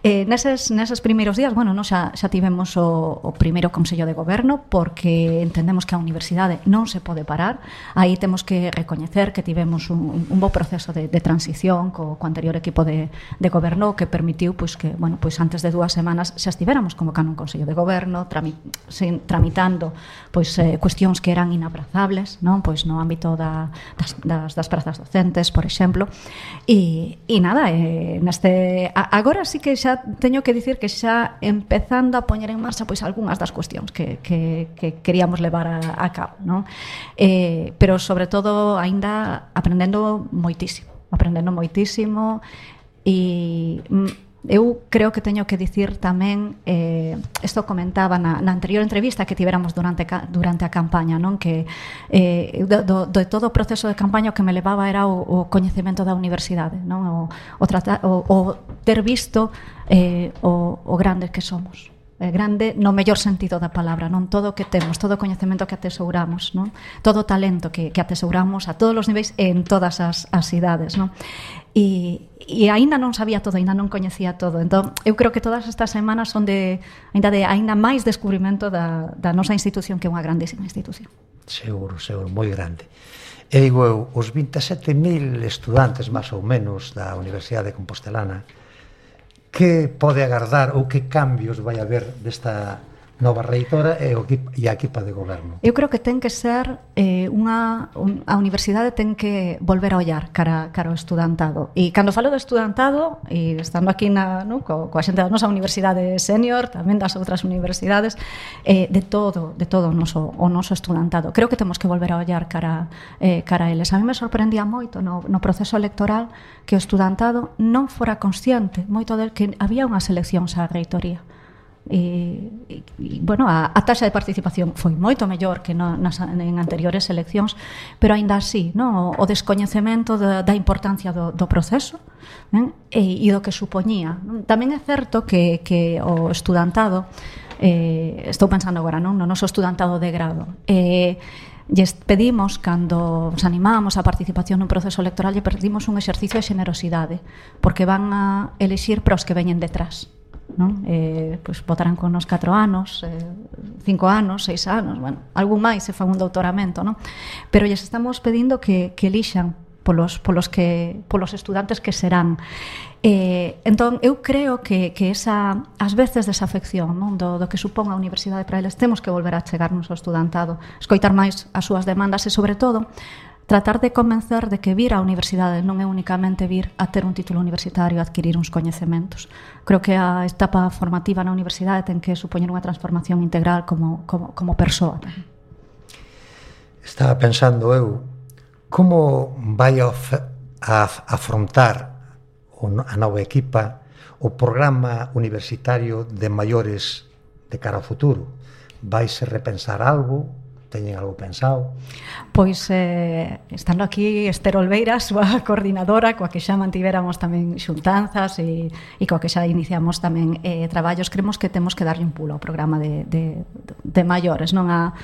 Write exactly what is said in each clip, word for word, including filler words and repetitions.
Eh, neses, neses primeiros días, bueno, no, xa, xa tivemos o, o primeiro Consello de Goberno, porque entendemos que a universidade non se pode parar. Aí temos que recoñecer que tivemos un, un bo proceso de, de transición co, co anterior equipo de, de goberno, que permitiu pois, que, bueno, pois antes de dúas semanas xa estivéramos convocando un Consello de Goberno, trami, sin, tramitando pois, eh, cuestións que eran inaprazables, non? Pois no ámbito da, das, das, das prazas docentes, por exemplo. E, e nada, eh, neste, a, agora sí que xa teño que dicir que xa empezando a poñer en marcha pois algunhas das cuestións que, que, que queríamos levar a, a cabo, non? Eh, pero sobre todo aínda aprendendo moitísimo, aprendendo moitísimo e eu creo que teño que dicir tamén, eh, isto comentaba na, na anterior entrevista que tiveramos durante, durante a campaña, non? Que eh, do, do todo o proceso de campaña o que me levaba era o, o coñecemento da universidade, non? O, o, tratar, o, o ter visto eh, o, o grandes que somos. É grande no mellor sentido da palabra, non? Todo o que temos, todo o coñecemento que atesouramos, non? Todo o talento que, que atesouramos a todos os niveis e en todas as, as idades, non? E, e aínda non sabía todo, aínda non coñecía todo. Entón, eu creo que todas estas semanas son de aínda de aínda máis descubrimento da, da nosa institución, que é unha grandísima institución. Seguro, seguro, moi grande. E digo eu, os vinte e sete mil estudantes máis ou menos da Universidade Compostelana, que pode agardar ou que cambios vai haber desta nova reitora e, o, e a equipa de goberno? Eu creo que ten que ser eh, unha, un, a universidade ten que volver a ollar cara, cara ao estudantado. E cando falo do estudantado, e estando aquí na, no, co, coa xente da nosa universidade senior, tamén das outras universidades, eh, de todo, de todo o noso, o noso estudantado. Creo que temos que volver a ollar cara, eh, cara a eles. A mí me sorprendía moito no, no proceso electoral que o estudantado non fora consciente moito del que había unha selección á reitoría. E, e, e bueno, a, a taxa de participación foi moito mellor que no, nas, en anteriores eleccións, pero aínda así, no, o, o descoñecemento da, da importancia do, do proceso, ben? E, e do que supoñía. Tamén é certo que, que o estudantado, eh, estou pensando agora, non, no noso estudantado de grado, eh, lles pedimos, cando os animamos a participación nun proceso electoral, lle pedimos un exercicio de xenerosidade, porque van a elixir para os que veñen detrás, non? Eh, pois votarán con nos catro anos, eh, cinco anos, seis anos, bueno, algún máis se fan un doutoramento, non? Pero lles estamos pedindo que, que elixan polos, polos, que, polos estudantes que serán. Eh, entón, eu creo que, que esa, ás veces desafección, non? Do, do que supón a universidade para eles, temos que volver a chegarnos ao estudantado, escoitar máis as súas demandas e, sobre todo, tratar de convencer de que vir á universidade non é únicamente vir a ter un título universitario, a adquirir uns coñecementos. Creo que a etapa formativa na universidade ten que supoñer unha transformación integral como, como, como persoa. Estaba pensando eu, como vai a, a afrontar a nova equipa o programa universitario de maiores de cara ao futuro? Vaise repensar algo? Teñen algo pensado? Pois, eh, estando aquí Esther Olveira, a súa coordinadora, coa que xa mantiveramos tamén xuntanzas e, e coa que xa iniciamos tamén eh, traballos, creemos que temos que darlle un pulo ao programa de, de, de maiores, non a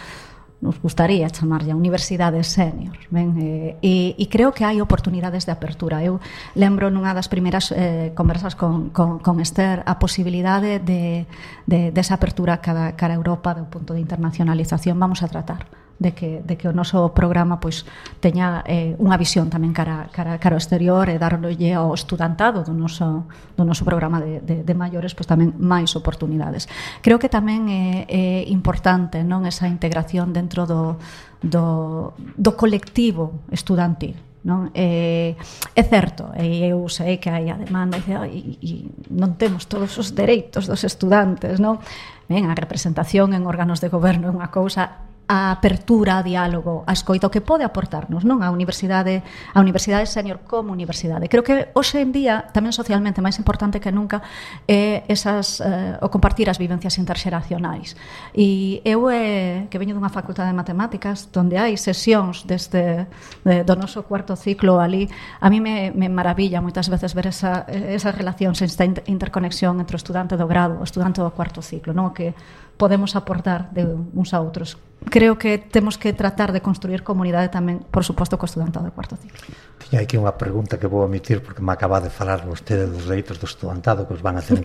nos gustaría chamarlle a universidade senior, ben? Eh, e, e creo que hai oportunidades de apertura. Eu lembro nunha das primeiras eh, conversas con, con, con Esther a posibilidade de, de, de esa apertura cara, cara a Europa do punto de internacionalización. Vamos a tratar de que, de que o noso programa pois teña eh, unha visión tamén cara, cara, cara ao exterior e darlle ao estudantado do noso, do noso programa de, de, de maiores pois tamén máis oportunidades. Creo que tamén é, é importante, non, esa integración dentro do, do, do colectivo estudantil, non? É, é certo, e eu sei que hai a demanda e, e, e non temos todos os dereitos dos estudantes, non? Ben, a representación en órganos de goberno é unha cousa, a apertura, a diálogo, a escoita, o que pode aportarnos, non? A universidade, a universidade senior como universidade. Creo que hoxe en día, tamén socialmente, máis importante que nunca é esas, eh, o compartir as vivencias interxeracionais. E eu, eh, que veño dunha facultade de matemáticas, onde hai sesións deste, de, do noso cuarto ciclo ali, a mí me, me maravilla moitas veces ver esa, esa relación, esa interconexión entre o estudante do grado, o estudante do cuarto ciclo, non? Que podemos aportar de uns a outros. Creo que temos que tratar de construir comunidade tamén, por suposto, co estudantado do cuarto ciclo. Tiña aquí unha pregunta que vou omitir porque me acaba de falar vostede dos dereitos do estudantado que os van a hacer